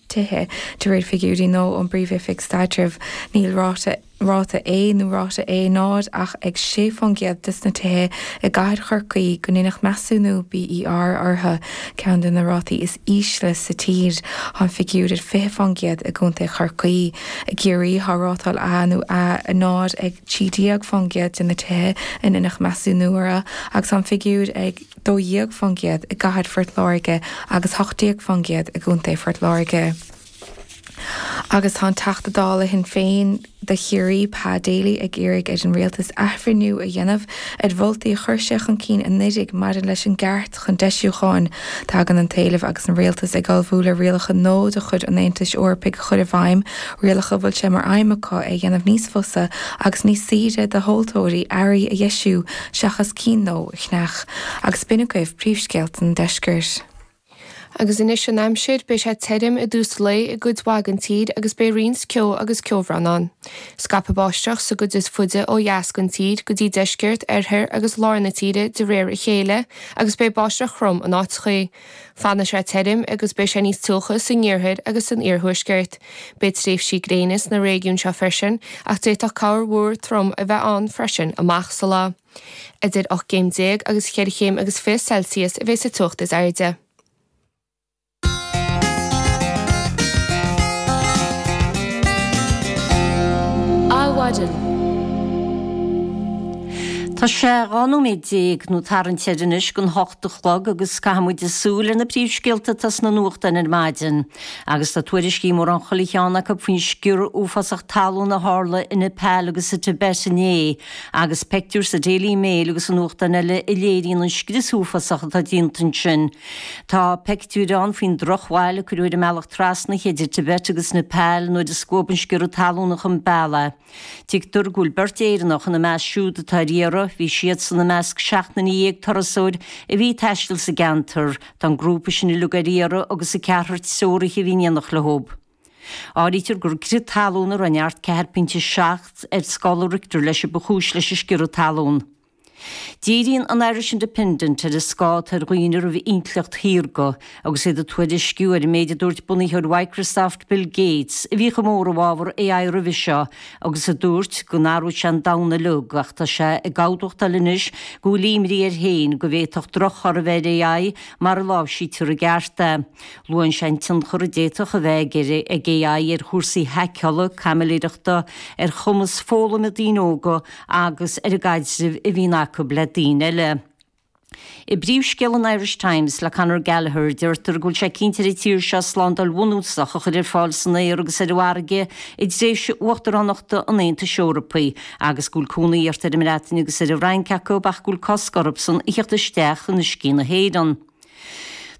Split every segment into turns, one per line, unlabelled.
Tithe, De réir figiúirí nua ón bPríomh-Oifig Staidrimh, níl ráta ráta A nó ráta A0 ach ag 6% des na tithe i gcathair Chorcaí go ndeineadh measúnú BER orthu, ceann de na rátaí is ísle sa tír. Tá an figiúr ar 20% i gContae Chorcaí. I gCiarraí, tá rátáil A nó A0 ag 13% de na tithe a ndeineadh measúnú orthu agus tá an figiúr ag. 12% i gcathair Phort Láirge agus 18% i gContae Phort Láirge. Agus tá an Teachta Dála Shinn Féin do Chiarraí, Pa Daly, ag iarraidh ar an Rialtas athbhreithniú a dhéanamh ar mholtaí a chuir sé chun cinn anuraidh maidir leis an gceart chun deisiúcháin. Tagann an t-éileamh agus an Rialtas ag ullmhú le rialacha nua de chuid an Aontais Eorpaigh a chur i bhfeidhm, rialacha a bhfuil sé mar aidhm acu é a dhéanamh níos fusa agus níos saoire do thomhaltóirí earraí a dheisiú seachas cinn nua a cheannach. Agus b'in agaibh príomhscéalta an deiscirt.
Agus anois an aimsir, beidh sé tirim i dtús lae i gcuid mhaith den tír agus beidh roinnt ceo agus ceobhrán ann. Scaipfidh báisteach sa gcuid is faide ó dheas den tír go dtí deisceart, oirthear agus lár na tíre de réir a chéile agus beidh báisteach throm in áiteachaí. Fanfaidh sé tirim agus beidh sé níos teocha san iarthar agus san iarthuaisceart. Beidh tréimhsí gréine sna réigiúin seo freisin ach d'fhéadfadh corrmhúr trom a bheith ann freisin amach sa lá. Idir 18 céim agus cheithre chéim agus 20 Celsius a bheidh sa teocht is airde.
Adhmhaidin.
Tá sé 12 nóiméad nó tarraingt air anois don hocht a chlog agus caithfidh muid súil ar na príomhscéalta atá sna nuachtáin ar maidin. Agus tá tuairiscí mórán chuile cheann acu faoin sciorradh uafásach talún a tharla i Nepal agus sa Tibet inné. Agus peictiúir sa Daily Mail agus i nuachtáin eile a léiríonn an scrios uafásach atá déanta ansin. Tá peictiúir ann faoin drochbhail a cuireadh ar an mbealach trasna idir Tibet agus Nepal nuair a scuab an sciorradh talún chun bealaigh. Tuigtear go bhfuil beirt Éireannach ina measc siúd atá ar iarraidh, bhí siadsan i measc 17 turasóir a bhí ag taisteal sa gceantar. Tá an grúpa sin uilig ar iarraidh agus an ceathrar treoraithe a bhí in éineacht leo. Áirítear gur crith talún a raibh neart 4.7 ar scála Richter leis a ba chúis leis an sciorradh talún. Díríonn an Irish Independent ar an scáth atá ar dhaoine roimh intleacht shaorga agus iad ag tuairisciú ar an méid a dúirt bunaitheoir Microsoft Bill Gates, a bhí chomh mór i bhfabhar AI roimhe seo agus a dúirt go n-athródh sé an domhan uilig ach tá sé ag admhachtáil anois go bhfuil imní air féin go bhféadfadh drochthorthaí a bheith ar AI mara láimhsítear i gceart é. Luann sé an tionchar a d'fhéadfadh a bheith ag AI ar chúrsaí haiceála, caimiléireachta, ar chumas foghlama daoine óga agus ar an gcaidreamh a bhíonn acu le daoine eile. I bpríomhscéal an Irish Times le Conor Gallagher, deirtear go bhfuil sé cinnte ar an tír seo slándáil bhunúsach a chur ar fáil san aer agus ar an bhfarraige i dtréimhse uachtaránachta an Aontais Eorpaigh agus go bhfuil cúnamh iarrta ar an mBreatain agus ar an bhFrainc acu ach go bhfuil cosc orthusan a theacht isteach in uiscí na hÉireann.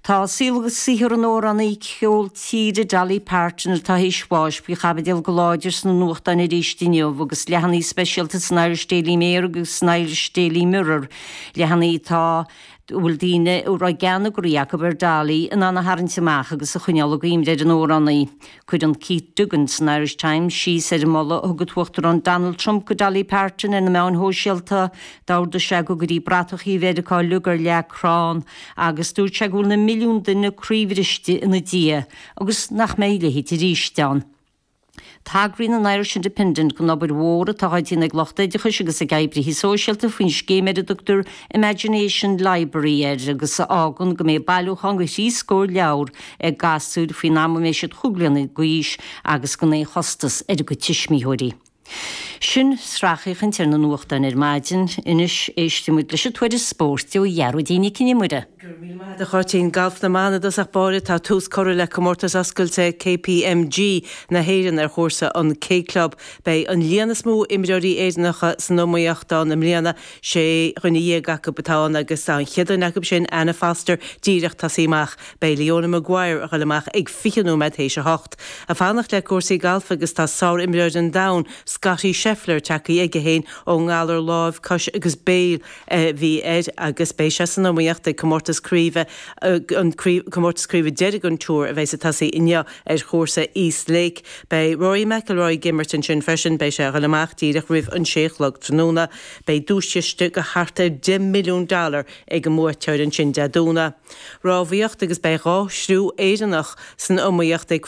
Tá saol agus saothar an amhránaí ceol tíre Dolly Parton, atá théis bháis, faoi chaibidil go láidir sna nuachtáin arís inniu agus leathanaigh speisialta san Irish Daily Mail agus san Irish Daily Mirror, leathanaigh atá a bhfuil daoine a raibh gean a gcroí acu ar Dolly in ann a tharraingt amach agus a choinneáil i gcuimhne ar an amhránaí. Cuireann Keith Duggan san Irish Times síos ar an moladh a thug an tUachtarán Donald Trump go Dolly Parton ar na meáin shóisialta. D'ordaigh sé go gcuirí bratachaí Mheiriceá uilig ar leac crann agus dúirt sé go bhfuil na milliúin duine croíbhriste ina diaidh agus nach mbeidh a leithéid arís ann. Tagraíonn an Irish Independent don obair mhór atá á déanamh ag lucht oideachais agus ag oibrithe sóisialta faoin scéim ar a dtugtar Imagination Library air agus a fhágann go mbeidh bailiúchán de thrí scór leabhar ag gasúir faoin am a mbeidh siad chúig bliana d'aois agus gan aon chostas ar a gcuid tuismitheoirí. Sin sracfhéachaint ar na nuachtáin ar maidin. Anois éistfidh muid leis an tuairisc spóirt ó Ghearóidín Nic Con Iomaire.
Go raibh míle maith agat a Cháitín. Galf na mban i dtosach báire, tá tús curtha le Comórtas Oscailte KPMG na hÉireann ar chúrsa an K Club. Beidh an líon is mó imreoirí Éireannacha san iomaíocht ann i mbliana, 16 dhuine acu atá ann agus tá an chéad duine acu sin, Anna Foster, díreach tosaithe amach. Beidh Leona Maguire a dhul amach ag 20 nóiméad théis a hocht. Ag fanacht le cúrsaí gailf agus tá sár-imreoir an domhain, Scottie Scheffler tagtha aige féin ón ngalar láimh, cois agus béil a bhí air agus beidh sé san iomaíocht ag comórtas craoibhe, an comórtas craoibhe deiridh den Tour a bheas ag tosaí inniu ar chúrsa East Lake. Beidh Rory McIlroy ag imirt ansin freisin, beidh sé a dhul amach díreach roimh an sé a chlog tráthnóna. Beidh duaischiste de thart ar $10 milliún ag an mbuaiteoir ansin Dé Domhnaigh. Rámhaíocht agus beidh dá thriú Éireannach san iomaíocht ag.